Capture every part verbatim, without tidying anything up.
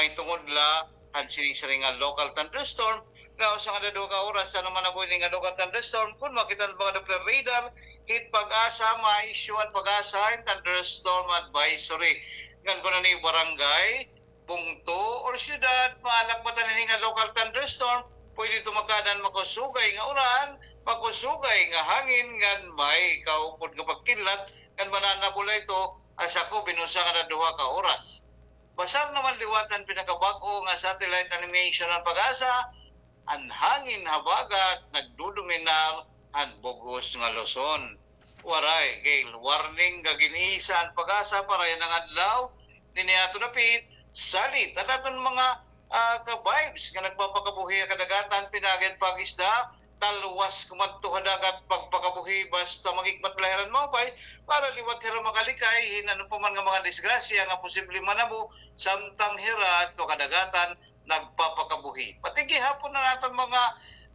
mahitungod la han siring-siring nga local thunderstorm. Nga usa nga duha ka oras, ano man na po ini nga local thunderstorm, kon makita han mga Doppler radar, hit PAGASA, ma-issue an PAGASA hin thunderstorm advisory. Ngan kon ano barangay, bungto, or syudad, maalagbatan ini nga local thunderstorm, pwede ito magkaada han makusugay nga uran, makusugay nga hangin, ngan may kaupod nga pagkidlat, ngan mananabol la ito, asya ko, binusa nga duha ka oras. Basar naman liwat han pinakabag-o nga satellite animation han PAGASA, an hangin habagat nagdodominar han bug-os nga Luzon. Waray gale warning nga gin-iisa han PAGASA para yana nga adlaw dinhi ha aton dapit. Salit an aton mga, ah, ka-vibes nga nagpapakabuhi ha kadagatan, pinaagi han pag-isda, talwas kumadto ha dagat pagpakabuhi basta maghikmat la hira hin maupay para liwat hira makalikay hin ano pa man nga mga disgrasya nga posible manabo samtang hira adto ha kadagatan nagpapakabuhi. Pati gihapon an aton mga,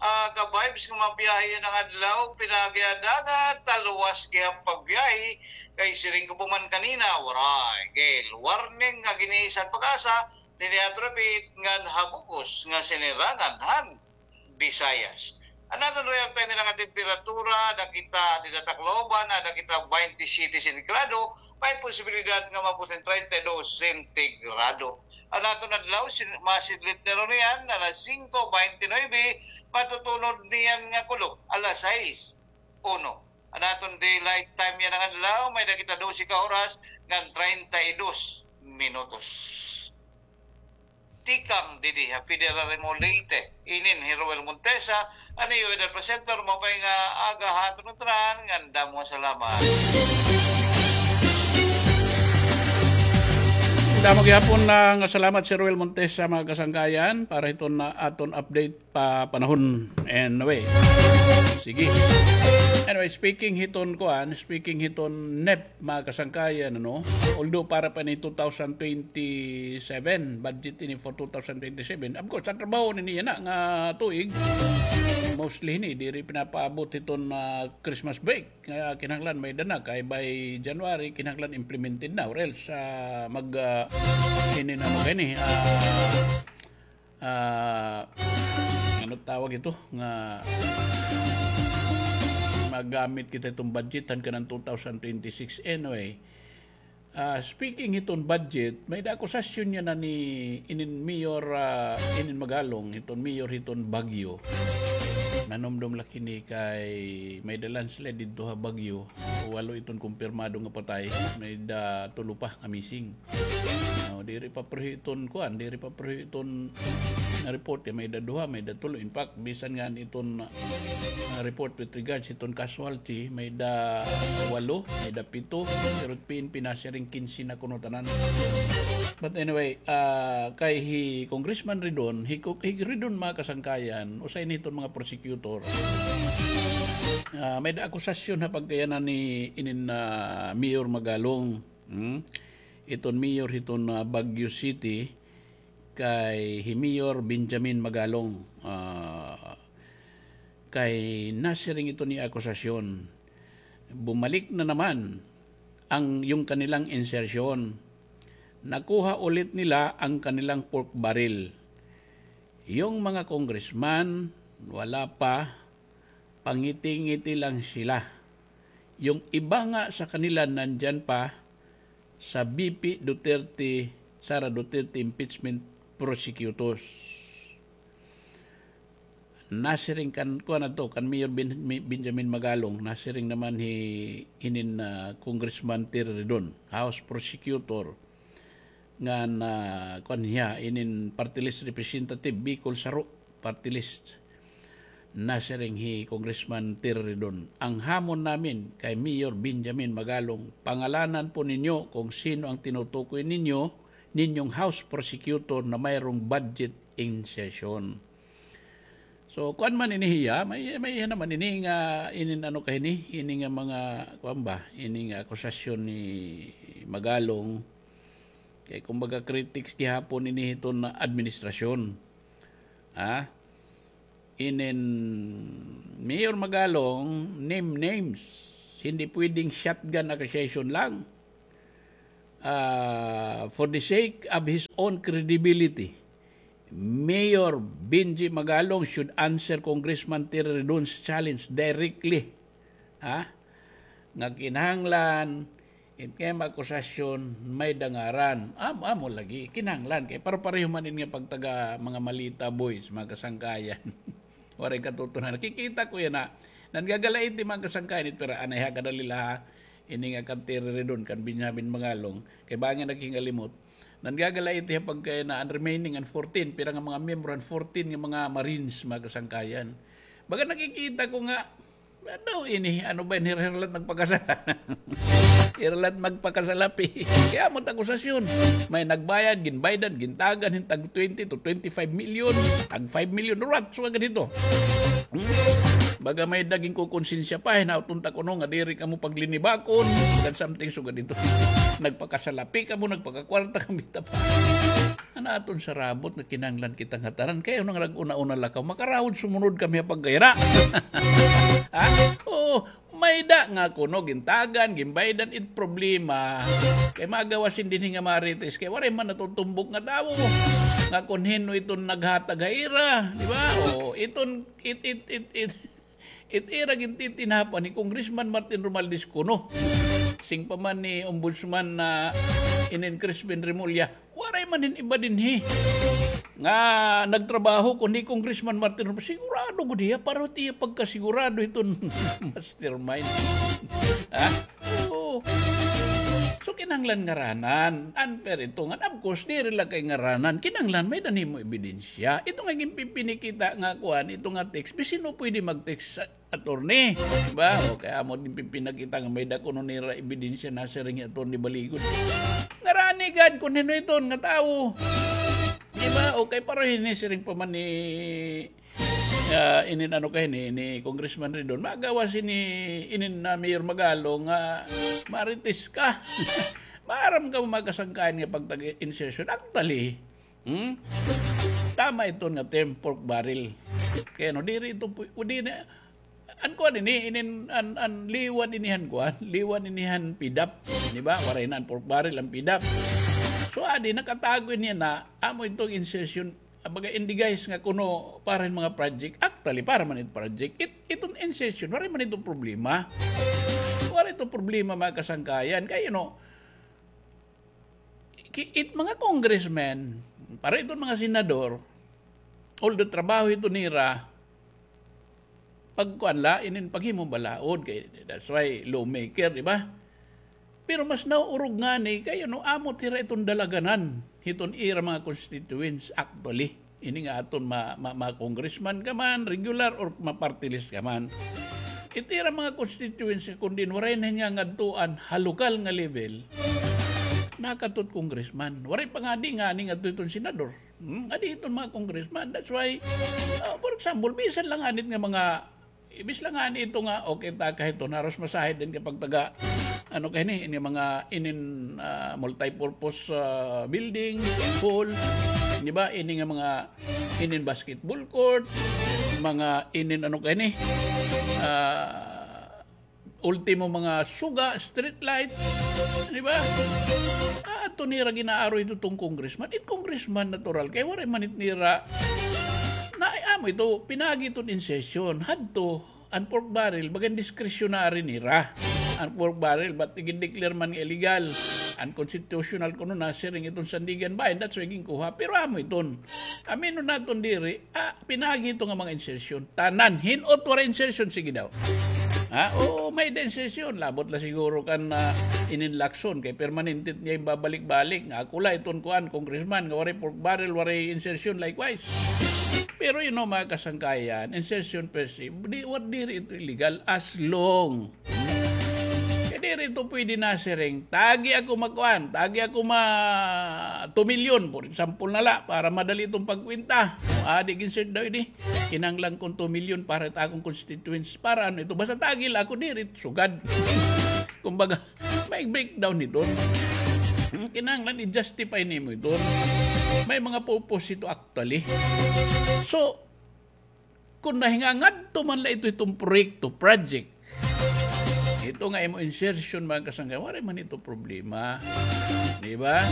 ah, ka-vibes nga mga biyahe yana nga adlaw, pinaagi ha dagat, talwas gihap pagbiyahe, kay siring ko pa man kanina, waray gale warning nga gin-iisa han PAGASA dinhi ha aton dapit ngan ha bug-os nga sinirangan han Visayas. An aton real time nga temperatura, ada kita dida ha Tacloban, ada kita baynte siyete sentigrado, may posibilidad nga maabot hin treinta y dos sentigrado. An aton adlaw, sin-, masidlit na runo niyan, alas singko baynte nuebe, matutunod niyan nga kulop, alas sais uno. An aton daylight time yana nga adlaw, may-ada kita dose ka oras ngan treinta y dos minutos. Tikang didi ha Federal Leyte, inin hi Roel Montesa, an iyo weather presenter, maupay nga aga ha aton ngatanan, ngan damo nga salamat. Damo gihapon nga salamat, Sir Roel Montesa, mga kasangkayan, para hiton, ah, aton update pa panahon. Anyway. Sige. Anyway, speaking hiton kuan, speaking hiton NEP, mga kasangkayan, ano, although para pa ni two thousand twenty-seven, budget ini for two thousand twenty-seven, of course, an trabaho nini yana nga tuig, mostly hini, diri pinapaabot hiton, ah, Christmas break. Kaya kinahanglan may-ada na, kay by January, kinahanglan implemented na, or else, ah, mag, ah, ini na, ano, kini, ah, ah, ano tawag ito? Nga magamit kita hiton budget han kanan two thousand twenty-six. Anyway, ah, speaking hiton budget, may-ada akusasyon yana ni inin Mayor, ah, inin Magalong, hiton Mayor hiton Baguio. Nanumdom la kini kay may-ada landslide didto ha Baguio. Walo iton kumpirmado nga patay, may-ada tulo pa nga missing. No, diri pa pareho iton kuan, diri pa pareho iton na-report kay may-ada duha, may-ada tulo. In fact, bisan nga iton, ah, report with regards iton casualty, may-ada walo, may-ada pito, pero P N P nasiring kinse na kuno tanan. But anyway, ah, kay hi Congressman Ridon, hi, hi Ridon, mga kasangkayan, usa ini hiton mga prosecutor. Ah, may-ada akusasyon ha pagkayanan ni inin, ah, Mayor Magalong. Hmm? Iton mayor hiton, ah, Baguio City, kay hi Mayor Benjamin Magalong, ah, kay nasiring iton nga akusasyon. Bumalik na naman ang, yung kanilang insertion. Nakuha ulit nila ang kanilang pork barrel. Yung mga congressman, wala pa, pangiti-ngiti lang sila. Yung iba nga sa kanila nandiyan pa sa V P Duterte, Sara Duterte impeachment prosecutors. Nasiring kan, kuan adto, kan Mayor Ben-, Mi-, Benjamin Magalong, nasiring naman hi, hinin, ah, Congressman Terry Ridon, House Prosecutor, ngan, ah, kuan hiya, inin party list representative, Bicol Saro party list. Nasiring hi Congressman Terry Ridon, "Ang hamon namin kay Mayor Benjamin Magalong, pangalanan po ninyo kung sino ang tinutukoy ninyo, ninyong House Prosecutor na mayroong budget insertion." So, kuan man ini hiya, may, may iya naman ini nga, inin ano ka ini, ini nga mga, kuan ba, ini nga akusasyon ni Magalong. Kay kumbaga critics gihapon ini hiton administrasyon. Ha? Inin Mayor Magalong, name names. Hindi pwedeng shotgun accusation lang. ah, for the sake of his own credibility, Mayor Benji Magalong should answer Congressman Terry Redon's challenge directly. Ha? Nga kinahanglan, it kay akusasyon, may dangaran. Am-, amo lagi, kinahanglan. Kay paro-pareho man in nga pagtaga mga malita boys, mga kasangkayan. Waray katutunan. Nakikita ko yana. Nangagalaiti mga kasangkayan, it pira anay ha kadali la ha. Ini nga kan Terry Redon, kan Benjamin Magalong. Kay bangin naghingalimot. Nangagalaiti ha pagkay na an remaining an fourteen, pira nga mga miyembro an fourteen nga mga Marines, mga kasangkayan. Baga nakikita ko nga, ano ini, ano ba ini, hira la it nagpakasala? Hira la it magpakasalapi. Kay amo it akusasyon. May nagbayad, ginbaydan, gintagan, hin tag twenty to twenty-five million, tag five million, rat, so agad ito. Hmm? Baga may-ada ginkukonsensya pa, hinaot unta kuno nga diri kamo paglinibakon, bagan something sugad ito. Nagpakasalapi kamo, nagpakakwarta kamo, kita pa. An aton sarabot nga kinahanglan kita ngatanan, kay ano nga nag-una-una lakaw, makarawod sumunod kami ha pagkayra. Ha? Oo, may-ada nga kuno, gintagan, ginbaydan, it problema. Kay magawas hin dinhi nga marites, kay waray man natutumbok nga tawo. Nga kun hin-o iton naghatag ha ira, di ba? O, iton, it, it, it, it, it ira gintitinapan ni Congressman Martin Romualdez kuno. Siring pa man ni Ombudsman na inin Crispin Remulla, waray man hin iba dinhi nga nagtrabaho kundi Congressman Martin Romualdez. Sigurado gud hiya, paro it iya pagkasigurado hiton mastermind. Ha? Oo. So, kinahanglan ngaranan. Unfair ito nga. Of course, diri la kay ngaranan. Kinahanglan may-ada nimo ebidensya. Ito nga ginpipinakita nga kuan, ito nga text. Bisan hin-o pwede mag-text sa attorney. Di ba? O kay amo din pipinakita nga may-ada kuno nira ebidensya na siring hi Attorney Baligon. Ngarani gad kun hin-o iton nga tawo. Di ba? O kay paro hini siring pa man ni, ah, inin ano kay ni, ni Congressman Redon. Magawas ini, inin na Mayor Magalong nga marites ka. Maaram ka mga kasangkayan nga pagtag-insertion. Actually, hmm? Tama iton nga term, pork barrel. Kay ano, diri ito pu-, o di na, an kuan ini, inin, an, an liwat ini han kuan, liwat ini han PDAP, di ba? Waray na an pork barrel, an PDAP. So, adi, nakatago ini na, amo itong insertion, baga in the guise nga kuno para hin mga project. Actually, para man it project. It, iton insertion, waray man ito problema. Waray ito problema, mga kasangkayan. Kay, you know, ki-, it mga congressmen, para iton mga senador, although trabaho ito nira, pagkuan la, inin paghimo balaod, kay that's why lawmaker, di ba? Pero mas nauurog ngani, kay ano, amo it ira iton dalaganan hiton ira mga constituents, actually. Ini nga aton ma-, ma-, ma-congressman ka man, regular or ma-party list ka man. It ira mga constituents, kun diin waray na hin ngangadtuan ha lokal nga level, nakadto it congressman. Waray pa ngadi ngani ngadto iton senador. Hmm, ngadi iton mga congressman. That's why, uh, for example, bisan la ngani it nga mga, ibis la ngani ito nga, okay, ta kay ito, haros masahid din kay pagtaga, ano kay ni, ini mga, inin, ah, multipurpose, ah, building, hall, di ba? Ini nga mga, inin basketball court, mga, inin, ano kay ni, ah, ultimo mga suga, street lights, di ba? Ah, ato nira ginaaro ito tong congressman. It congressman natural kay waray man it nira na, ay, amo ito, pinagi iton in session. Hadto, an pork barrel, bagan discretionary nira. An pork barrel, but gin-declare man nga illegal, unconstitutional kuno na siring iton Sandiganbayan, that's why ginkuha. Pero amo iton. Aminon naton diri, ah, pinagi ito nga mga insertion. Tanan, hin-o it waray insertion, sige daw. Ha? Oo, may-ada insertion. Labot la siguro kan, ah, inin Lacson, kay permanente niya ginbabalik-balik. Nga ako la iton kuan, congressman, nga waray pork barrel, waray insertion, likewise. Pero, you know, mga kasangkayan, insertion per se, di, wa-, diri ito illegal as long Kay diri ito pwede na siring, tagi ako magkuan, tagi ako ma two million, for example na la, para madali itong pagkwenta. Kung adi, insert daw ini, kinahanglan kong two million para it akong constituents. Para ano ito? Basta tagi la ako, diri sugad. Kumbaga, may breakdown ito. Hmm, kinahanglan i-justify nimo ito. May mga purpose ito actually. So, Kun nahingangadto man la ito, itong proyekto, project, Ito nga imo insertion, mga kasangkayan, waray man ito problema. Di ba?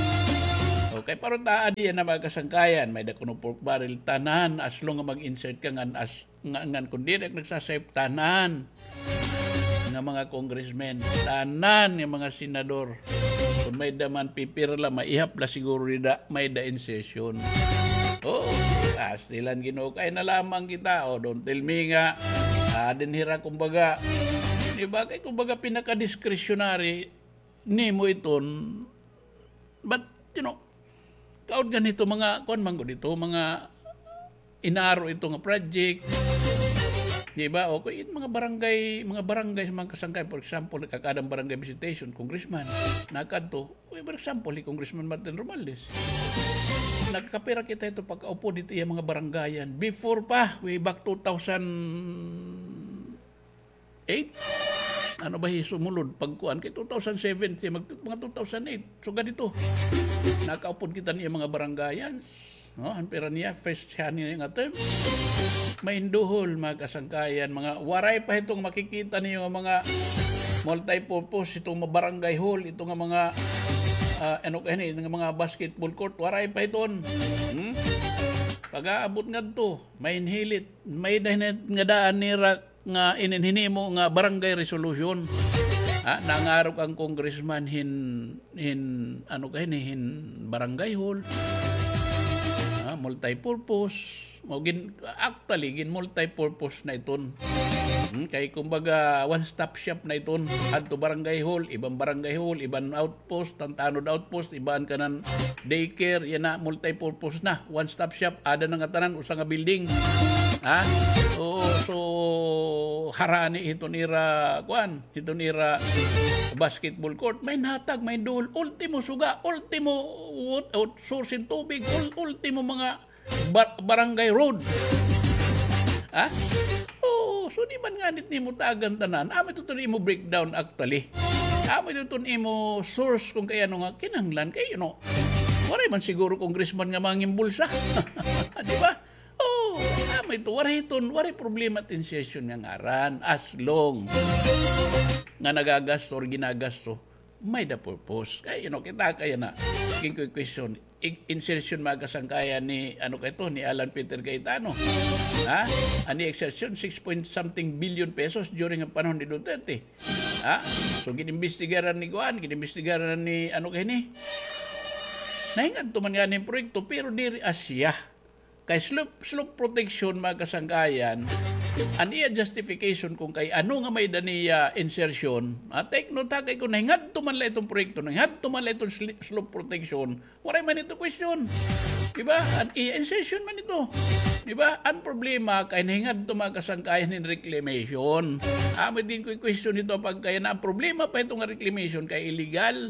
Okay, pero taa diyan na, mga kasangkayan, may-ada kuno pork barrel, tanan, as long nga mag-insert ka ngan as, nga, ngan kun diri ka nagsasayop, tanan nga mga congressmen, tanan nga mga senador, kun may-ada man pipira la, maihap la siguro dida, may-ada insertion. Oo, pastilan, Ginoo, kay na lamang kita. O, don't tell me nga, ah, dinhi ra, kumbaga, di ba, kay, kumbaga, pinaka-discretionary nimo iton. But, you know, kaon ganito, mga, kuan man gud ito, mga inaro ito nga project. Di ba? O, kay mga barangay, mga barangay sa mga kasangkay, for example, nagkakaadang barangay visitation, congressman, nakadto. Uy, for example, hi Congressman Martin Romualdez. Nagkapira kita ito pagkaupod hit iya mga barangayan. Before pa, way back two thousand eight? Ano ba hi sumulod? Pagkuan kay two thousand seven, siya mag-, mga two thousand eight. Sugad hito. Nakaupod kita niya mga barangayan. No, han pira niya, first siya niya nga term. Mahinduhol, mga kasangkayan, mga waray pa hitong makikita niyo nga mga multi-purpose, itong mga barangay hall, ito nga mga, ah, ano kay ini, nga mga basketball court, waray pa hiton. Hmm? Pag-aabot ngadto, mahinhilit, may dahinit nga daan nira nga inin hinimo nga barangay resolution. Ha, nangarok an congressman hin, hin, ano kay ini, hin barangay hall. Ha, multi-purpose. Mao gin, actually, gin multi-purpose na iton. Hmm, kay kumbaga, one-stop shop na iton. Adto barangay hall, iban barangay hall, iban outpost, Tantanod outpost, iban kanan daycare, yana, multi-purpose na. One-stop shop, aada na ngatanan, usa nga building. Ha? Oo, so, harani hiton ira, kuan, hiton ira basketball court. Mahinhatag, mahinduhol, ultimo suga, ultimo, ut-, ut-, source hin tubig, ul-, ultimo mga bar-, barangay road. Ha? Oo, so di man nganit nimo tagan tanan. Amo ito iton imo breakdown actually. Amo ito iton imo source kun kay ano nga kinahanglan kay, you know, waray man siguro congressman nga mangin bulsa. Di ba? Oo, amo ito, waray iton, waray problema it insertion nga ngaran as long nga nagagasto or ginagasto may-ada purpose. Kay, you know, kita kay yana, ginkukwestiyon, i-, insertion, mga kasangkayan, ni, ano kay ito, ni Alan Peter Cayetano. Ha? An iya insertion, six point something billion pesos during an panahon ni Duterte. Ha? So, ginimbestigaran ni kuan, ginimbestigaran ni, ano kay ini? Nahingadto man ngani hin proyekto, pero diri asya. Kay slope, slope protection, mga kasangkayan, an iya justification kun kay ano nga may-ada niya insertion. Ah, take note ha, kay kun nahingadto man la iton proyekto, nahingadto man la iton sli-, slope protection, waray man ito question. Di ba? An iya insertion man ito. Di ba? An problema kay nahingadto, mga kasangkayan, hin reclamation. Amo din ko question ito pagkay na an problema pa ito nga reclamation kay illegal.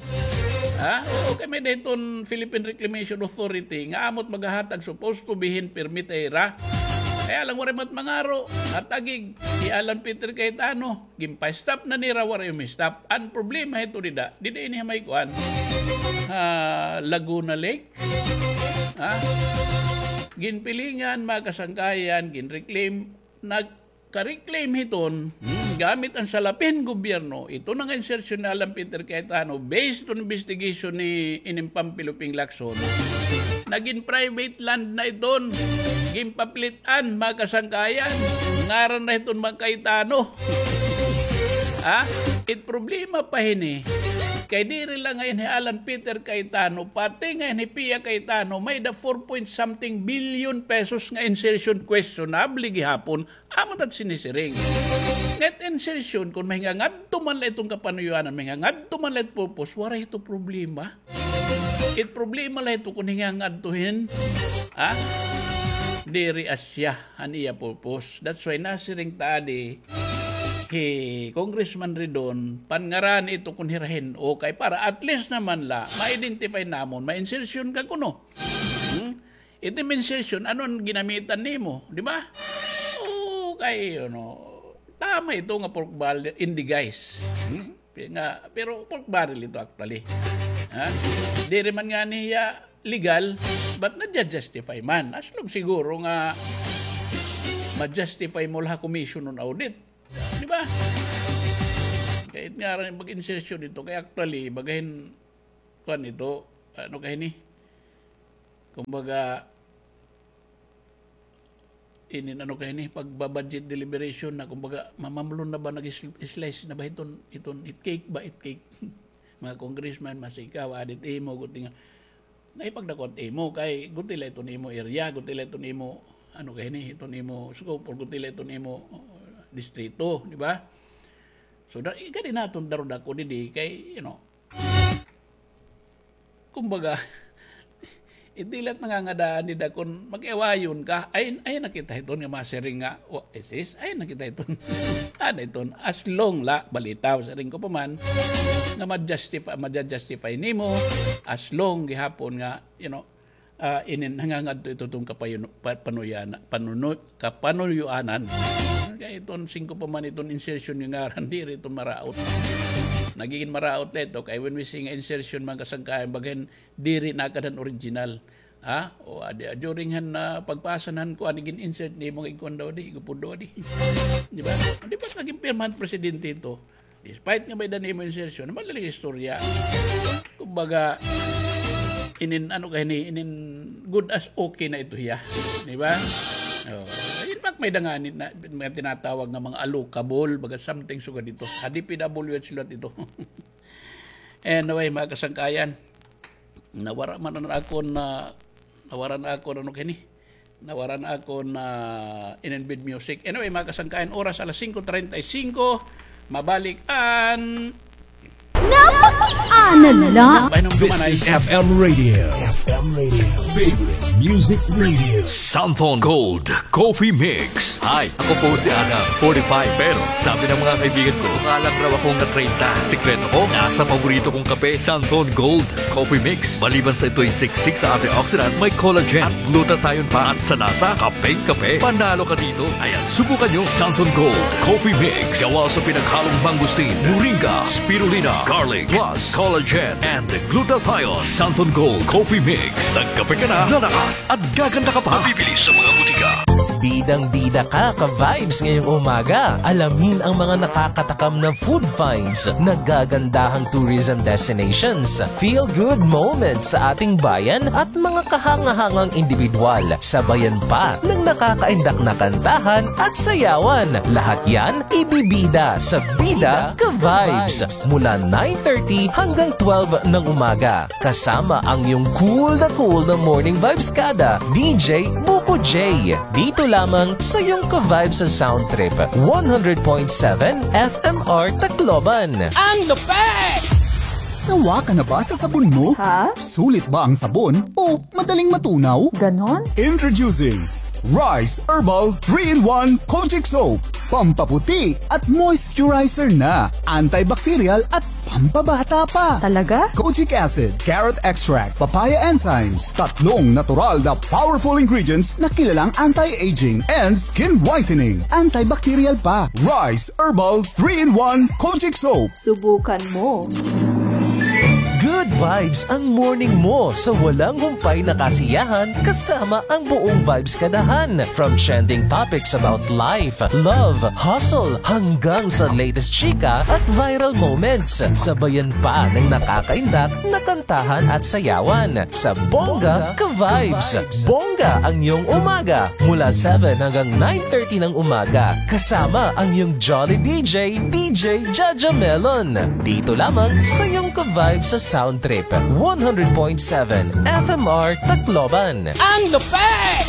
Ha? Oo, kay may-ada hiton Philippine Reclamation Authority nga amo it maghahatag supposed to be hin permit ha ira. Kaya lang waray man it mangaro. At agig, hi Alan Peter Cayetano, ginpa-stop na nira, waray umi-stop. An problema hito dida, dida ini ha may kuan. Ha, Laguna Lake. Ha? Ginpilingan, mga kasangkayan, ginreclaim, nag- ka-reclaim hiton, hmm, gamit an salapi hin gobyerno, ito na nga insertion ni Alan Peter Cayetano, based on investigation ni ining Pamphilio Ping Lacson, nagin private land na iton, ginpapilit-an, mga kasangkayan, ngaran na hiton mga Cayetano. Ha? It problema pa hini, kay diri la ngay-an hi Alan Peter Cayetano, pati ngay-an hi Pia Cayetano, may-ada four point something billion pesos nga insertion questionable gihapon. Amo it at sinisiring. Ngan it insertion, kun mahingangadto man la iton kapanuyuanan, mahingangadto man la it purpose, waray ito problema. It problema la ito kun hingangadto hin, ha? Diri asya an iya purpose. That's why nasiring ta adi hi Congressman Ridon, panngarani ito kun hira hin, okay, para at least naman la, ma-identify namon, ma-insertion ka kuno. Hmm? It im insertion, ano an ginamitan nimo, di ba? Oo, kay, ano, tama ito nga pork barrel in disguise. Hmm? Nga, pero pork barrel ito actually. Ha? Diri man ngani hiya legal, but nadya-justify man. As long siguro nga ma-justify mo la ha commission on audit. Di ba? Kay It ngaran pag-insertion dito, kay actually, bagahin, kuan ito, ano kay ni? Kumbaga, inin ano kay ni, pagbabudget deliberation na, kumbaga, mamamlon na ba, nag-slice na ba iton, iton, it cake ba, it cake? Mga congressman, masikaw, adit imo, guti nga, naipagdakot imo, kay guti la iton imo area, guti la iton imo, ano kay ni, iton imo scope, or guti la iton imo, uh, distrito, di ba? So, da, ikadi naton darudako didi, kay, you know, kumbaga, iti la it nangangadaan dida kon makiawayon ka, ay, ay na kita hiton nga masiring nga, wa, isis, ay na kita hiton. Ano iton, as long la, balitaw, siring ko pa man, nga ma-justify, ma-justify nimo, as long gihapon nga, you know, ah, inin nangangadto ito tong kapayuno-, pa-, panuyana-, panuno-, kapanuyuanan. Kay iton singko pa man iton insertion nga ngaran, diri iton maraot. Nagigin maraot na ito, kay when we say nga insertion, mga kasangkayan, bagahin diri na kadan original. Ha? O, adi, during han, ah, pagpasa han kuan, gin-insert nimo nga igkuan daw di, igupod daw di. Di ba? Di ba naging pirmahan presidente ito? Despite nga may-ada nimo insertion, malaling istorya. Kumbaga, inin, ano kay ni, inin good as okay na ito hiya. Di ba? Oh. In fact, may-ada nga ni, na, mga tinatawag nga mga allocable, baga something sugad dito. Ha D P W H la ito. Anyway, mga kasangkayan, nawara man an akon, nawara na akon, ano kay ni? Nawara na akon inin bid music. Anyway, mga kasangkayan, oras alas singko treinta y cinco. Mabalik an Napakiana la. This is F M Radio. F M Radio. Favorite music radio. Santhon Gold Coffee Mix. Hi, ako po si Adam, forty-five. Pero sabi ng mga kaibigan ko, mukha lang raw akong na treinta. Sikreto ko, nasa paborito kong kape, Santhon Gold Coffee Mix. Maliban sa ito'y siksik sa antioxidants, may collagen at glutathione pa. At sa lasa, kapeng-kape. Panalo ka dito. Ayan, subukan nyo. Santhon Gold Coffee Mix. Gawa sa pinaghalong mangosteen, moringa, spirulina, garlic, plus collagen and glutathione. Santhon Gold Coffee Mix. Nagkape ka na, lalakas at gaganda ka pa. Mabibili sa mga butika. Bidang-bida ka, ka-vibes, ngayong umaga. Alamin ang mga nakakatakam na food finds, nagagandahang tourism destinations, feel-good moments sa ating bayan at mga kahanga-hangang indibidwal. Sabayan pa ng nakakaindak na kantahan at sayawan. Lahat yan ibibida sa Bida Ka-Vibes mula nine thirty hanggang twelve ng umaga. Kasama ang iyong cool na cool na morning vibes kada, D J Buko J. Dito lamang sa iyong ka-vibes sa Sound Trip, one hundred point seven F M R Tacloban. Ang lupit! Sawa ka na ba sa sabon mo? Ha? Sulit ba ang sabon o madaling matunaw? Ganon? Introducing Rice Herbal three-in-one Kojic Soap. Pampaputi at moisturizer na. Antibacterial at pampabata pa. Talaga? Kojic acid, carrot extract, papaya enzymes. Tatlong natural na powerful ingredients na kilalang anti-aging and skin whitening. Antibacterial pa. Rice Herbal three-in-one Kojic Soap. Subukan mo. Good vibes ang morning mo sa walang humpay na kasiyahan kasama ang buong Vibes Kadahan. From trending topics about life, love, hustle, hanggang sa latest chika at viral moments. Sabayan pa ng nakakaindak na kantahan at sayawan sa Bongga Ka-Vibes. Bongga ang iyong umaga mula seven hanggang nine thirty ng umaga. Kasama ang iyong jolly D J, D J Jaja Melon. Dito lamang sa iyong ka-vibes sa Sound Trip, one hundred point seven F M R Tacloban. Ang lupit!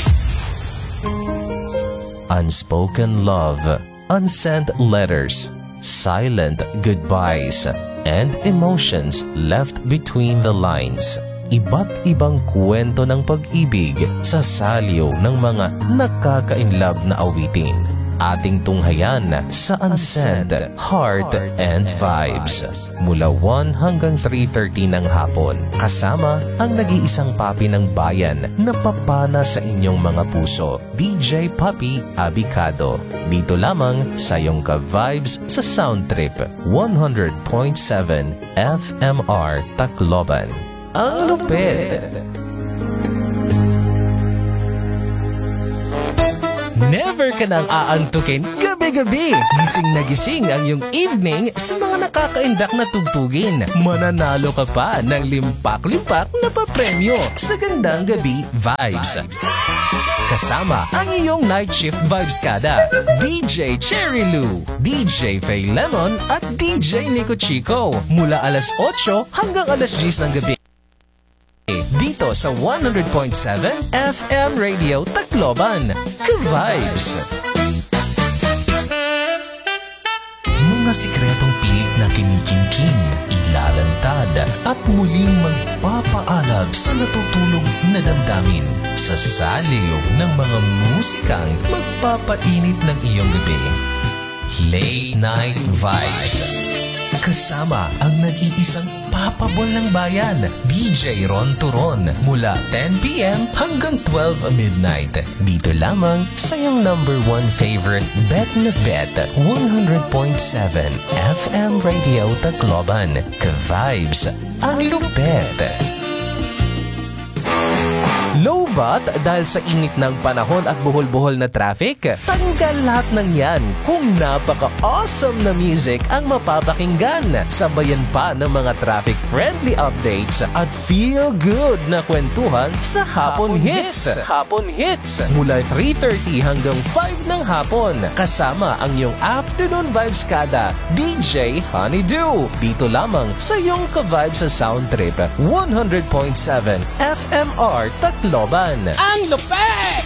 Unspoken love, unsent letters, silent goodbyes, and emotions left between the lines. Iba't ibang kwento ng pag-ibig sa saliw ng mga nakaka-inlove na awitin. Ating tunghayan sa Unsent Heart and Vibes. Mula one hanggang three thirty ng hapon, kasama ang nag-iisang papi ng bayan na papana sa inyong mga puso, D J Papi Abicado. Dito lamang sa iyong ka-vibes sa Sound Trip, one hundred point seven F M R Tacloban. Ang lupit! Never ka nang aantukin, gabi Gabi, gising na gising ang iyong evening sa mga nakakaindak na tugtugin. Mananalo ka pa ng limpak-limpak na papremyo sa Gandang Gabi Vibes. Kasama ang iyong night shift vibes kada, D J Cherry Lou, D J Faye Lemon at D J Nico Chico. Mula alas otso hanggang alas diyes ng gabi. Dito sa one hundred point seven F M Radio Tacloban. Ka-vibes! Mga sikretong pilit na kinikimkim, ilalantad, at muling magpapaalag sa natutulog na damdamin sa saliw ng mga musikang magpapainit ng iyong gabi. Late Night Vibes. Kasama ang nag-iisang papabol ng bayan, D J Ron Turon, mula ten P M hanggang twelve midnight. Dito lamang sa iyong number one favorite bet na bet, one hundred point seven F M Radio Tacloban. Ka-vibes, ang lupet. Lowbat dahil sa init ng panahon at buhol-buhol na traffic? Tanggal lahat ng yan kung napaka-awesome na music ang mapapakinggan. Sabayan pa ng mga traffic-friendly updates at feel-good na kwentuhan sa Hapon Hits. Hapon Hits. Mula three thirty hanggang five ng hapon, kasama ang iyong afternoon vibes kada, D J Honeydew. Dito lamang sa iyong ka-vibe sa Sound Trip, one hundred point seven F M R Tacloban. Ang lupet!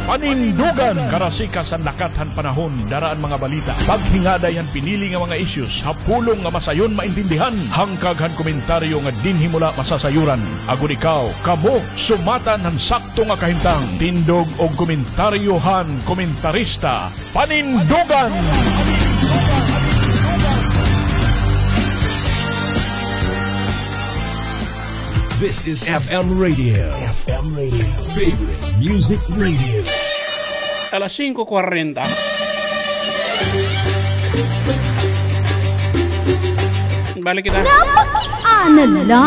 Panindugan! Karasikas an lakat han panahon, dara an mga balita. Paghingaday han pinili nga mga issues ha pulong nga masayon maintindihan. Hangkag han komentaryo nga dinhi mo la masasayuran. Agod ikaw, kamo, sumatan han sakto nga kahimtang. Tindog og komentaryo han komentarista. Panindugan! This is F M Radio. F M Radio. Favorite Music Radio. Alas singko kwarenta. Balik kita. Napakiana la.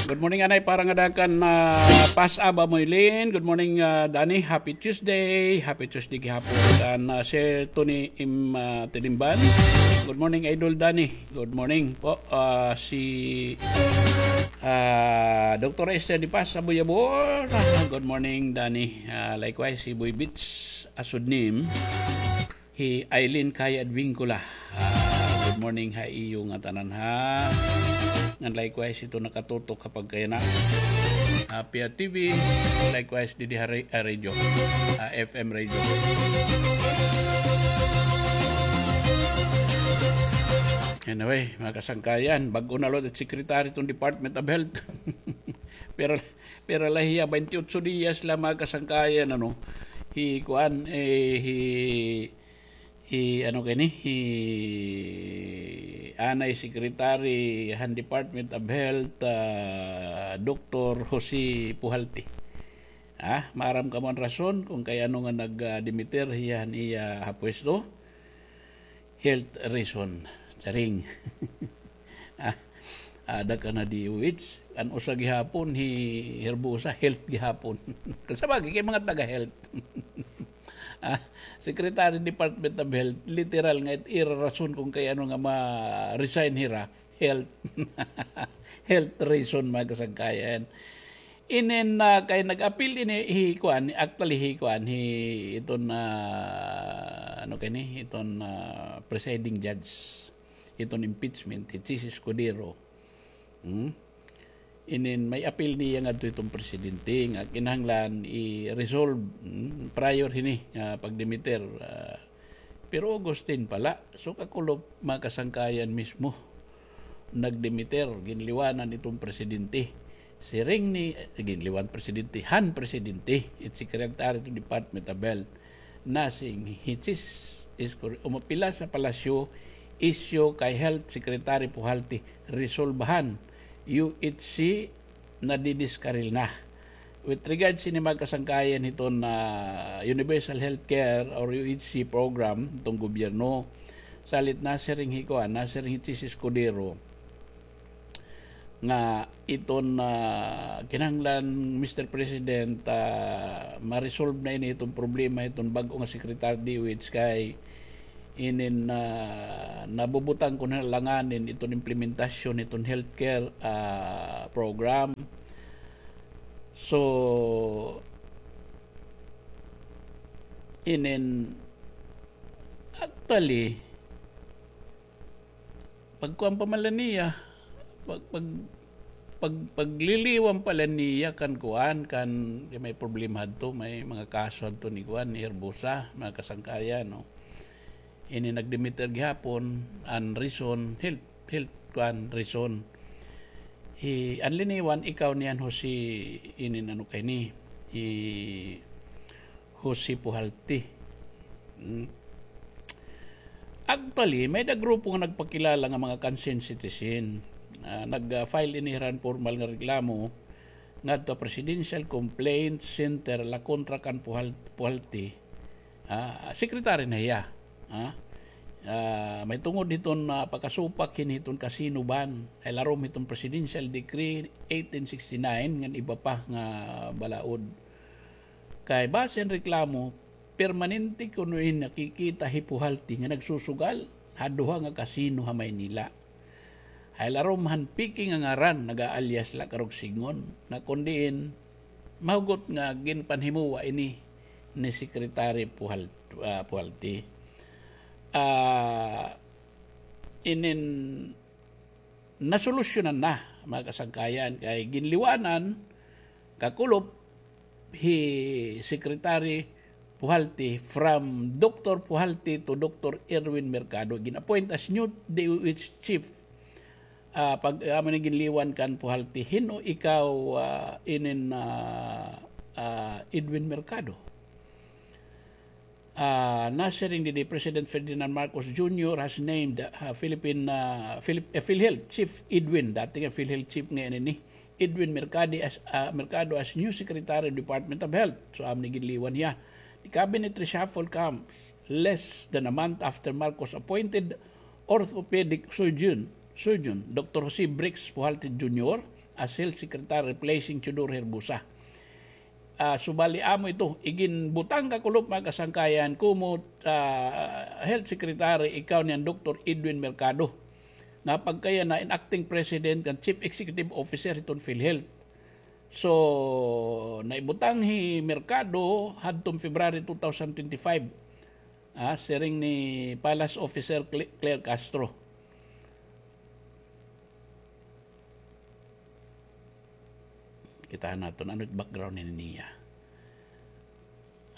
Good morning, anay, para nga dakan na pas aba mo, Eileen. Good morning, ah, Danny. Happy Tuesday. Happy Tuesday gihapon. Kan, ah, Sir Tony M, ah, Tinimban. Good morning, Idol Danny. Good morning po. Ah, si, ah, Doktor Esther Di Paz, Abuyabor. Ah, good morning, Danny. Ah, likewise, si Boy Beats, Asudnim. Hi Eileen Kaya Advincula. Ah, good morning ha iyo ngatanan, ha. Ngan likewise ito nakatutok ha pagkayana. Ah, Pia T V, likewise didi ha ra-, ah, radio. Ah, F M radio. Anyway, mga kasangkayan, bag-o na liwat it secretary iton Department of Health. Pero, pero la hiya, baynte otso diyas la, mga kasangkayan, ano. Hi, kuan, eh, hi, hi, ano kay ni, hi anay secretary han Department of Health, ah, Doktor Jose Pujalte. Ah, maaram kamo an rason kon kay ano nga nag, ah, demeter hiya han iya ha pwesto? Health reason. Charing. Ah, ada ka na D O H. An usa gihapon, hi Herbosa, health gihapon. Sabagay, kay mga taga-health. Ah, Secretary Department of Health, literal nga it ira rason kon kay ano nga ma-resign hira, health. Health reason, mga kasangkayan. Inin, ah, kay nag-apil ini hi kuan, actually hi kuan, hi iton, ah, ano kay ni, iton, ah, presiding judge, iton impeachment, hi Chiz Escudero. Hmm? Inin may apil niya ngadto iton presidente nga kinahanglan i-resolve, hmm, prior hini nga pagdemeter, ah, pero August ten pa la. So, kakulop, mga kasangkayan, mismo nagdemeter, ginliwanan iton presidente. Siring ni, eh, ginliwan presidente, han presidente, it secretary to Department of Health, na si Chiz Escudero, umapila sa palasyo, isyu kay Health Secretary Pujalte, resolbahan, U H C, nadidiskaril na. With regards sini, mga kasangkayan, hiton, ah, universal healthcare or U H C program hiton gobyerno, salit nasiring hi kuan, nasiring hi Chiz Escudero, nga iton, ah, kinahanglan, Mister President, ah, ma-resolve na ini iton problema iton bag-o nga Secretary D O H kay inin, ah, nabubutang kon alanganin iton implementasyon iton healthcare, ah, program. So, inin, actually, pagkuan pa man la niya, pag, pag, pag, pagliliwan pa la niya kan kuan, kan, kay may problema hadto, may mga kaso hadto ni kuan, ni Herbosa, mga kasangkayan, no? Ini nag-demeter gihapon, an reason, health, health, kuan, reason. Hi, an liniwan, ikaw niyan, Jose, inin ano kay ni, hi, Jose Puhalti. Mm. Actually, may da grupo nga nagpakilala nga mga concerned citizen. Ah, nag-file ini hiran formal nga reklamo ngadto Presidential Complaint Center la kontra kan Puhal-, Puhalti. Ah, secretary na hiya. Ah, ah, may tungod hiton, ah, pakasupak hin hiton casino ban. Ay larom hiton Presidential Decree eighteen sixty-nine ngan iba pa nga balaod. Kay base han reklamo, permanente kuno in nakikita hi Puhalti nga nagsusugal ha duha nga kasino ha Maynila. Hay larom han peke nga ngaran, nag-aalyas la karog sidngon, nga kon diin mahugot nga ginpanhimuwa ini ni Secretary Puhal-, ah, Puhalti. Ah, inin nasolusyonan na, mga kasangkayan, kay ginliwanan kakulop hi Secretary Puhalti, from Doctor Puhalti to Doctor Erwin Mercado, gin-appoint as new D O H chief. Ah, pag, amo ni ginliwan kan Puhalti, hin-o ikaw, ah, inin, ah, ah, Edwin Mercado? Ah, nasiring didi, President Ferdinand Marcos Junior has named, ah, Philippine, ah, Philip-, eh, PhilHealth Chief Edwin, dati nga PhilHealth Chief, ngayon ini, Edwin Mercado as, ah, Mercado as new Secretary of Department of Health. So, amo ni ginliwan hiya. The cabinet reshuffle comes less than a month after Marcos appointed orthopedic surgeon, surgeon Doctor Jose Brix Puhalti Junior as health secretary, replacing Teodoro Herbosa. Ah, subali amo ito, iginbutang kakulop, mga kasangkayan, komo, ah, health secretary, ikaw niyan, Doctor Edwin Mercado, nga pagkayana in acting president ngan chief executive officer hiton PhilHealth. So, naibutang hi Mercado hadton February two thousand twenty-five. Ah, siring ni Palace Officer Cle-, Claire Castro. Kita naton, ano it background ni niya?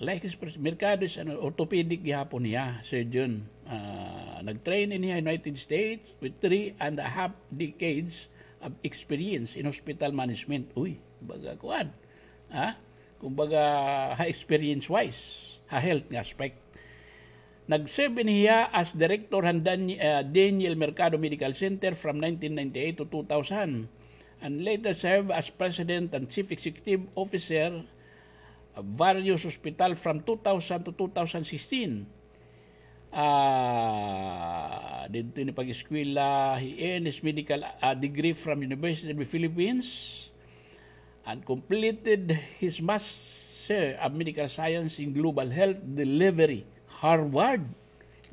Like his pres-, Mercado is, ano, orthopedic gihapon niya, surgeon. Ah, nag-train in United States with three and a half decades of experience in hospital management. Uy, baga kuan. Ha? Kumbaga, ha experience-wise, ha health nga aspect. Nag-serve ini hiya as director han Dan-, ah, Daniel Mercado Medical Center from nineteen ninety-eight to two thousand, and later served as president and chief executive officer of various hospital from two thousand to two thousand sixteen. Ah, didto ini pag-eskwela, he earned his medical, ah, degree from University of the Philippines and completed his Master of Medical Science in Global Health Delivery, Harvard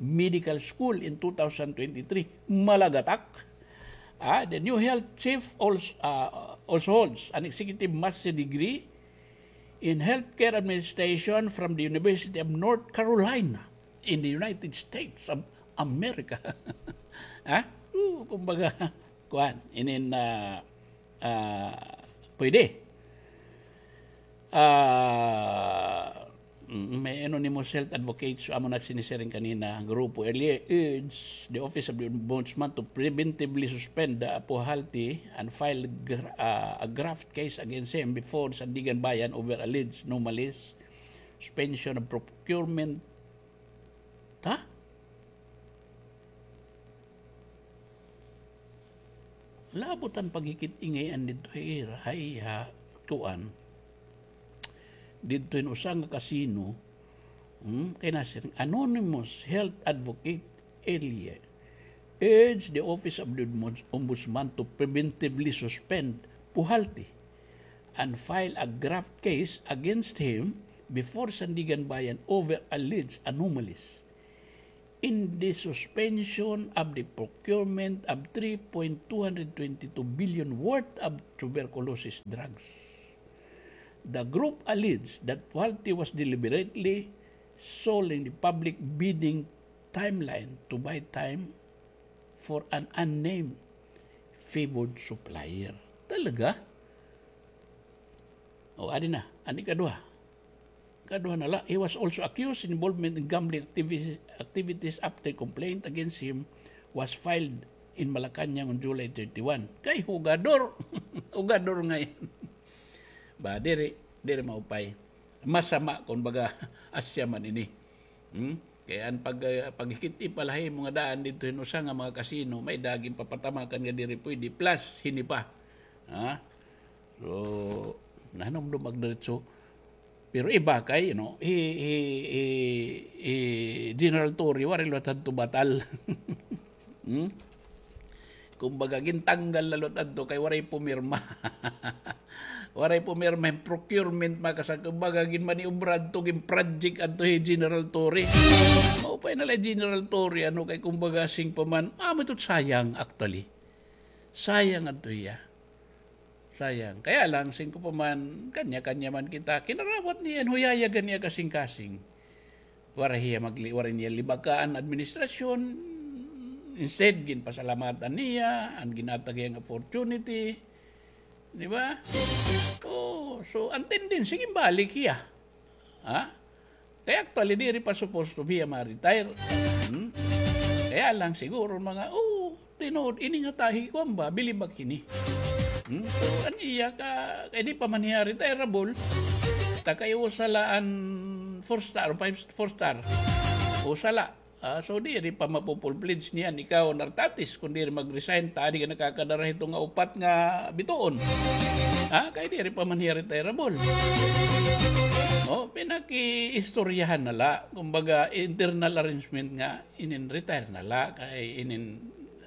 Medical School in two thousand twenty-three. Malagatak. Ah, the new health chief also, ah, also holds an executive master degree in healthcare administration from the University of North Carolina in the United States of America. Ha? Oo, kumbaga, kuan, inin, ah, ah, pwede. Ah, mm, may anonymous health advocates, amo na sinisiring kanina, grupo earlier urged the Office of the Ombudsman to preventively suspend the Puhalti and file gr-, ah, a graft case against him before Sandiganbayan over alleged anomalous suspension of procurement. Ha? Labot an paghikit-ingay an didto ha ira, ha iya, kuan. Didto hin usa nga kasino, hmm, kay nasiring, anonymous health advocate earlier urged the Office of the Ombuds-, Ombudsman to preventively suspend Puhalti and file a graft case against him before Sandiganbayan over alleged anomalies in the suspension of the procurement of three point two hundred twenty-two billion worth of tuberculosis drugs. The group alleged that Puhalti was deliberately stalling the public bidding timeline to buy time for an unnamed favored supplier. Talaga? O, adi na. An ikaduha. Ikaduha na la. He was also accused in involvement in gambling activities, activities after complaint against him was filed in Malacañang on July thirty-one. Kay hugador. Hugador ngay-an. Ba, diri, diri maupay. Masama kon baga asya man ini. Hmm? Kay an pag, ah, paghikit-i pa la ha imo nga daan didto hin usa nga mga kasino, may-ada ginpapatamakan nga diri pwede, plus hini pa. Ha? So, nahinumdom ak diretso. Pero iba kay, you know, hi, hi, hi, hi General Torre, waray liwat hadto batal. Hmm? Kumbaga, gintanggal na liwat adto kay waray pumirma. Waray pumirma hin procurement, mga kasangkayan. Kumbaga, ginmaniobra adto, ginproject adto hi General Torre. Maupay na la hi General Torre, ano, kay kumbaga, siring pa man, amo ito sayang, actually. Sayang adto hiya. Sayang. Kaya lang, siring ko pa man, kanya-kanya man kita. Kinarawat niya, huyayagan niya kasingkasing. Waray hiya magli-, waray niya libakaan administrasyon. Instead, ginpasalamatan niya an ginhatag hiya nga opportunity. Di ba? Oh, so, an tendency, ginbalik hiya. Ha? Kay actually, diri pa supposed to be a ma-retire. Hmm? Kaya lang siguro mga, oh, tinuod, ini nga tahi, kuwan ba, bilib ak hini. Hmm? So, an iya ka, kay di pa man hiya retireable, ta kay usa la an four star, five, four star. Usa la. Ah, so, diri pa mapu-full-fledged niyan ikaw, Nartatis, kun diri mag-resign, ta adi ka nakakadara hito nga upat nga bituon. Ha? Kay diri pa man hiya retireable. Oh, pinakiistoryahan na la. Kumbaga, internal arrangement nga, inin retire na la. Kay inin,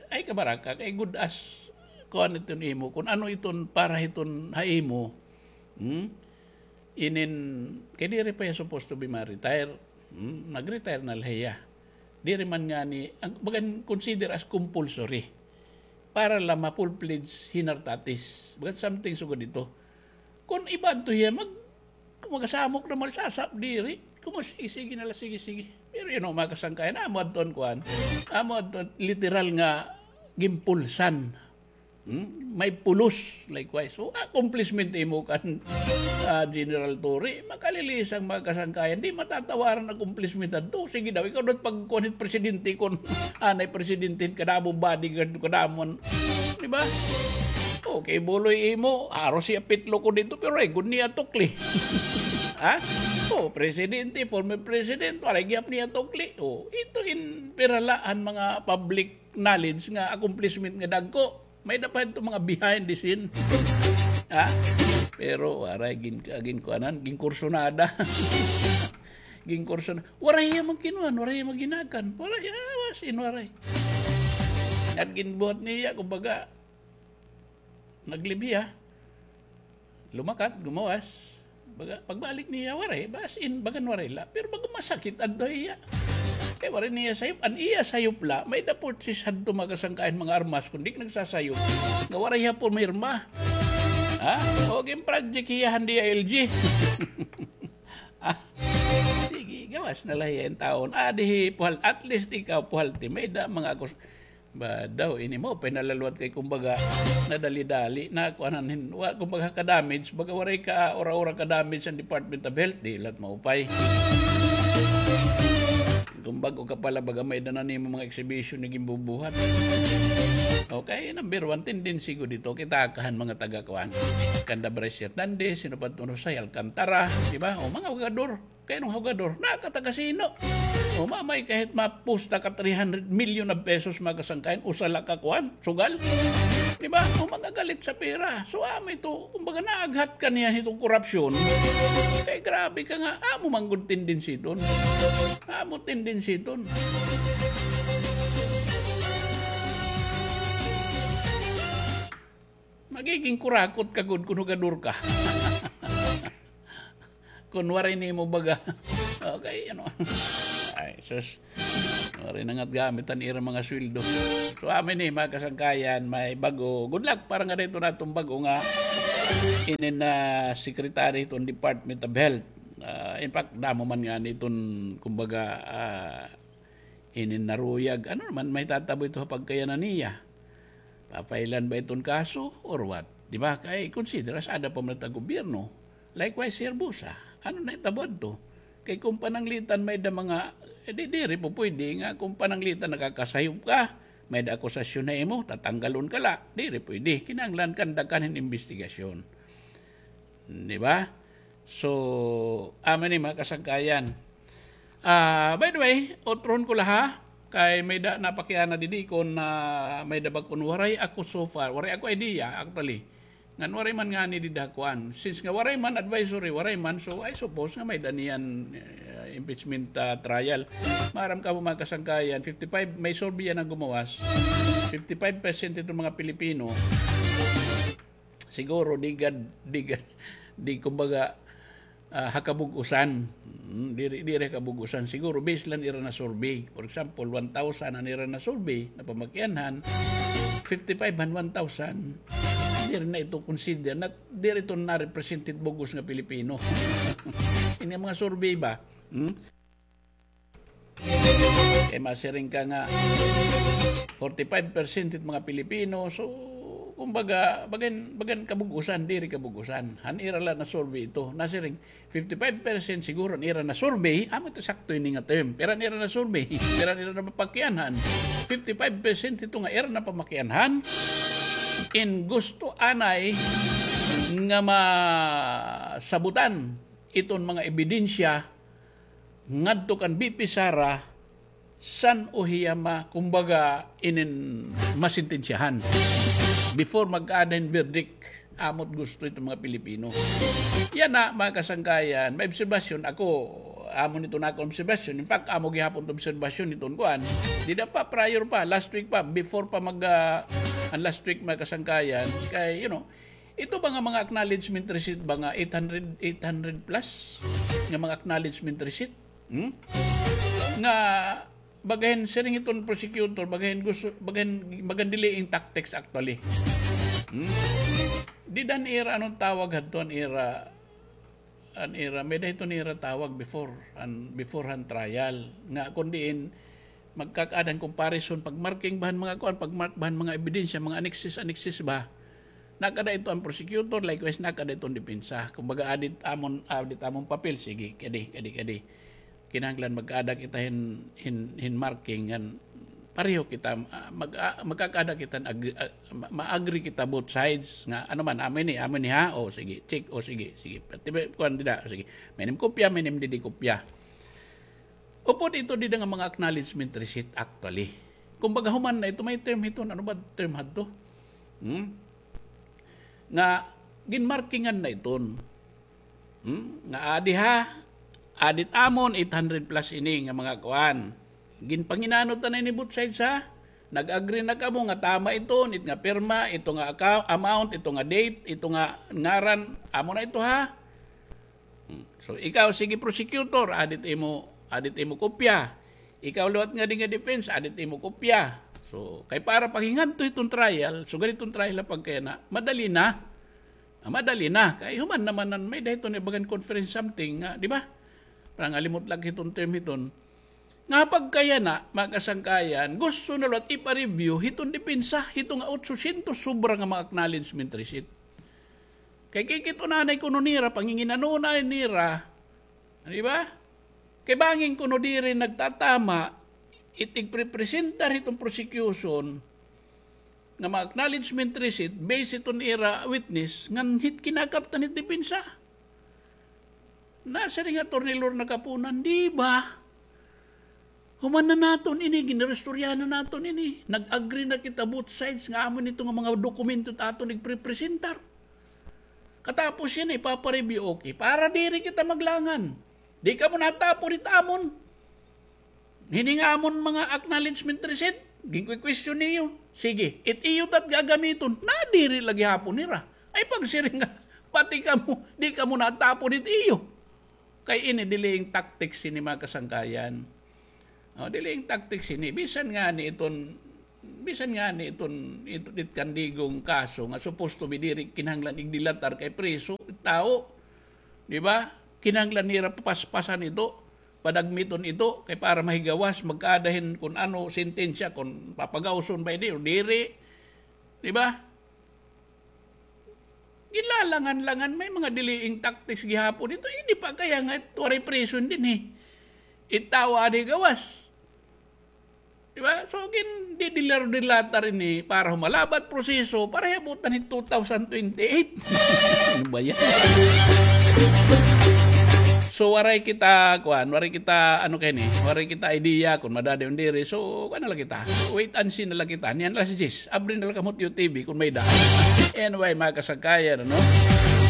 ay kabaraka, kay good as, kuan iton imo. Kun ano iton para hiton ha imo. Hmm? Inin, kay diri pa hiya supposed to be ma-retire. Hmm? Nag-retire na la hiya. Diri man ngani, ang, bagan consider as compulsory. Para la ma-full-fledged hi Nartatis. Bagan something sugad ito. Kun iba adto hiya, mag-, magasamok na, magsasap diri. Kun mag-, sige, sige na la, sige, sige. Pero, you know, mga kasangkayan, amo adto an kuan. Amo adto literal nga gimpulsan. Hmm? May pulos, likewise. So, accomplishment imo kan, ah, General Torre. Makalilisang mga kasangkayan. Di matatawaran accomplishment adto. Sige daw, ikaw daw pagkuan hit presidente kun anay presidente, kadamo bodyguard, kadamo. Di ba? Okay, buloy imo, aro siya pitlo ko dito, pero ay, good niya tukli. Ha? Oh, presidente, former president, waray gihap niya tukli. Oh, ito in piralaan mga public knowledge nga accomplishment nga dagko. May dapat ito mga behind the scene. Ha? Pero waray gin-, ginkuanan, ginkursunada. Ginkursun-, waray hiya magkinuan, waray hiya magginakan. Waray, ah, as in, waray. At ginbuhat niya, kumbaga, naglibhiya. Lumakat, gumawas. Baga, pagbalik niya, waray. As in, bagan waray la. Pero baga masakit, adto hiya. Kay waray niya sayop. An iya sayop la, may-ada purchase hadto mga kasangkayan, mga armas, kun di nagsasayop. Nga waray hiya pumirma. Ha? O, ginproject hiya han D I L G. Ah, sige, gawas na la hiya in taon. Ah, di hi Puhal-, at least ikaw, Puhalti, may-ada mga akus-, ba daw, ini mo, pinalaluwat kay, kumbaga, nadali-dali na, kuanan hin, wa, kumbaga, ka-damage, baga, waray ka, ura-ura ka-damage an Department of Health, di la't maupay. Kung bag-o ka pa la, baga, may-ada na nimo mga exhibition nga ginbubuhat. Okay, number one, tendency gud ito, kita kahan mga taga-kuan. Kanda Bryce Hernandez, sino pa ito, Rosay Alcantara, di ba? O, mga hugador. Kay nung hugador, nakataga sino? O, mamay kahit mapusta ka three hundred million of pesos, mga kasangkayan, usa la ka kuan, sugal. Di ba? O, magagalit sa pera. So, amo ito, kumbaga, naaghat ka niya itong korupsyon. Kay grabe ka nga, amo man gud tendency iton. Amo tendency iton. Magiging kurakot ka gud kun hugador ka. Kun waray nimo baga. Okay, ano. Ay, sus. Waray na nga't gamit an ira mga sweldo. So, amin ni, mga kasangkayan, may bag-o. Good luck para ngada hiton aton bag-o nga inin na secretary hiton Department of Health. Ah, in fact, damo man ngani iton, kumbaga, ah, inin naruyag. Ano naman, may tatabo ito ha pagkayanan niya. Papailan ba iton kaso or what? Di ba? Kay consider as ada pa man it gobyerno. Likewise, si Herbosa. Ano na itabo adto? Kay kung pananglitan may da mga, eh, di, diri po pwede nga kung pananglitan nakakasayop ka, may da akusasyon na imo, tatanggalon ka la. Diri pwede. Kinahanglan kandakan hin investigasyon. Di ba? So, amo ni mga kasangkayan. Ah, by the way, utrohon ko la ha, kay may da napakiana didi kon, ah, may da ba kon waray ako so far, waray ako idea, actually. Ngan waray man ngani dida kuan. Since nga waray man advisory, waray man, so I suppose nga may da niyan, eh, impeachment, ah, trial. Maaram kamo mga kasangkayan, fifty-five, may survey yana nga gumawas. Fifty-five percent iton mga Pilipino, siguro, di gad, di gad, di, kumbaga, ah, ha kabug-usan. Mm, diri, diri ha kabug-usan. Siguro, base la han ira na-survey. For example, one thousand an ira na-survey, napamakianhan, fifty-five han one thousand, diri na ito consider, na, diri ito na-represent it bug-os nga Pilipino. Ini mga survey ba? Hmm? Kay masiring ka nga forty-five percent it mga Pilipino. So, kumbaga, bagan, bagan kabug-usan, diri kabug-usan. Han ira la na-survey ito. Nasiring, fifty-five percent siguro an ira na-survey, amo ito sakto ini nga term. Pira an ira na-survey, pira an ira napapakianhan. Fifty-five percent ito nga ira napamakianhan. In gusto anay nga masabutan iton mga ebidensya ngadto kan V P Sara, san-o hiya ma-, kumbaga, inin masentensyahan before magkaada hin verdict, amo't gusto iton mga Pilipino. Yana, mga kasangkayan, may obserbasyon ako, amo nito na akon obserbasyon. In fact, amo gihapon it obserbasyon niton kuan. Dida pa, prior pa, last week pa, before pa mag, ah, an last week, mga kasangkayan, kay, you know, ito ba nga mga acknowledgement receipt ba nga eight hundred, eight hundred plus nga mga acknowledgement receipt? Hmm? Nga bagan siring iton prosecutor, bagan gusto, bagan, bagan delaying tactics actually. Hmm? Dida an ira, ano it tawag hadto, an ira, an ira, may-ada hiton ira tawag before, an, before han trial. Nga kun diin, magkakaada hin comparison, pag-marking ba han mga kuan, pag-mark ba han mga ebidensya, mga annexes, annexes ba? Nakada ito an prosecutor, likewise, nakada ito an depensa. Kumbaga, addit amon, addit amon papel, sige, kadi, kadi, kadi. Kinahanglan magkaada kita hin, hin, hin marking, ngan pareho kita, ah, mag-, ah, magkakaada kita, ag-, ah, ma-, ma-agree kita both sides nga, ano man, amo ini, amo ini ha, o sige, check, o sige, sige. Pati ba, kuan dida, o sige. May nim kopya, may nim didi kopya. Upod ito dida nga mga acknowledgement receipt actually. Kumbaga, human na ito, may term hiton, ano ba term hadto? Hmm? Nga, ginmarkingan na iton. Hmm? Nga adi ha, adit amon, eight hundred plus ini nga mga kuan. Ginpanginanot na ini both sides ha. Nag-agree na kamo nga tama iton, it nga pirma, ito nga account, amount, ito nga date, ito nga ngaran, amo na ito ha. Hmm. So, ikaw, sige, prosecutor, adit imo, adit imo kopya. Ikaw liwat ngadi nga defense, adit imo kopya. So, kay para paghingadto hiton trial, sugad hiton trial na pagkayana, madali na. Ah, madali na. Kay human naman an may-ada hiton ibagan conference something nga, di ba? Parang alimot lagi hiton term hiton. Nga pagkayana, mga kasangkayan, gusto na liwat ipa-review hiton depensa, hito nga otsosyentos sobra nga mga acknowledgement receipt. Kay kikit-on anay kuno nira, panginginanona nira, di ba? Kay bangin kuno diri nagtatama it igprepresentar hiton prosecution nga mga acknowledgement receipt based hiton ira witness ngan hit kinakaptan hit depensa. Nasiring hi Attorney Lorna Kapunan, di ba? Human na naton ini, ginaristoryahan na naton ini. Nag-agree na kita both sides nga amo ini ito nga mga dokumento it aton igprepresentar. Katapos yana, ipapa-review, okay. Para diri kita maglangan. Di kamo natapod hit amon. Hini nga amon mga acknowledgement receipt, Ginkwi-question niyo. Sige, it iyo tat gagamiton. Nadiri la gihapon nira. Ay pagsiring nga, pati kamo, di kamo natapon it iyo. Kay ini delaying tactics ini, mga kasangkayan. O, delaying tactics ini. Bisan ngani iton, bisan ngani iton, iton it kandigong kaso nga supposed to be diri kinahanglan igdilatar kay preso it tawo. Di ba? Kinahanglan nira papaspasan ito, padagmiton ito, kay para mahigawas, magkaada hin kun ano, sentensya, kun papagawson ba ini o diri. Di ba? Gilalangan-langan, may mga delaying tactics gihapon. Ito, hindi pa kaya nga, waray preso dinhi. Itawa di gawas. Di ba? So, gin, didilar-dilatar ini para humalabat proseso, para hiabutan hin two thousand twenty-eight. Ano ba yan? So, waray kita, kuan, waray kita, ano kay ni, waray kita idea kun madadayon diri. So, kuan na la kita. Wait and see na la kita. Niyan la si Jis. Abri na la kamo it iyo T V kun may-ada. Anyway, mga kasangkayan, ano?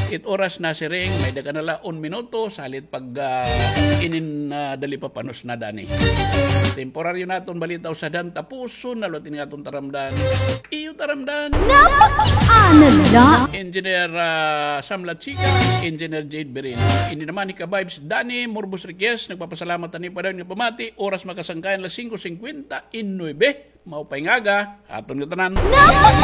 It oras na siring, may-ada ka na la un minuto, salit pag, ah, inin, ah, dali pa panos na dani. Temporaryo naton balita usadan, tapuson na liwat ini nga aton taramdan. Iyo taramdan. Napakiana la. Engineer, ah, Sam Lachica, Engineer Jade Berin. Ini naman hi Ka-Vibes Danny Morbos Riquez, nagpapasalamat ani pa dayon nga pamati, oras mga kasangkayan, alas singko singkwenta y nuebe. Maupay nga aga, aton ngatanan.